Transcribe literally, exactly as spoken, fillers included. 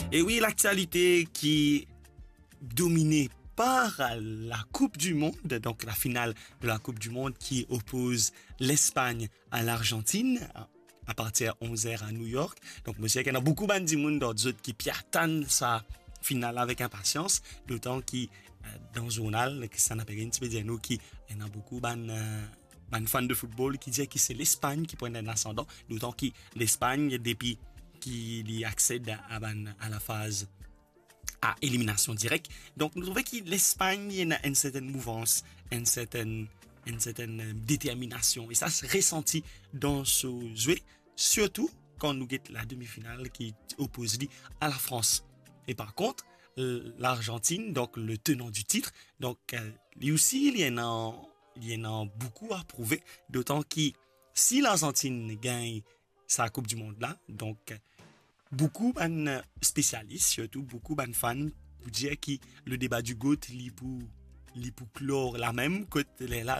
E wi, laktialite ki domine par la Coupe du Monde, donc la finale de la Coupe du Monde qui oppose l'Espagne à l'Argentine à partir onze heures à New York. Donc, mo sir ki ena boukou bann dimoun dan zot ki pe atann sa final avek inpasians, dotan ki, euh, dan zournal, ki sa nape gagn, ti pe dir nou ki ena boukou bann, euh, bann fan de football ki dir ki se Lespagne ki pran enn asandan, dotan ki Lespagne, depi ki li accède à bann, à la phase à élimination directe. Donc, nou trouve ki Lespagne, li ena enn sertenn mouvans, enn sertenn, enn sertenn, euh, determinasion. E sa se resanti dan so zwe, sirtou kan nou get la demi-finale ki oppose li à la France. E par kont, euh, l'Argentine, donc le tenant du titre, donc, euh, li osi, li ena, li ena boukou à prouve, dotan ki si l'Argentine gagn sa Coupe du Monde la, donc, boukou bann spesialis, sirtou boukou bann fan, pou dir ki le débat du GOAT, li pou, li pou klor la mem, kot lerla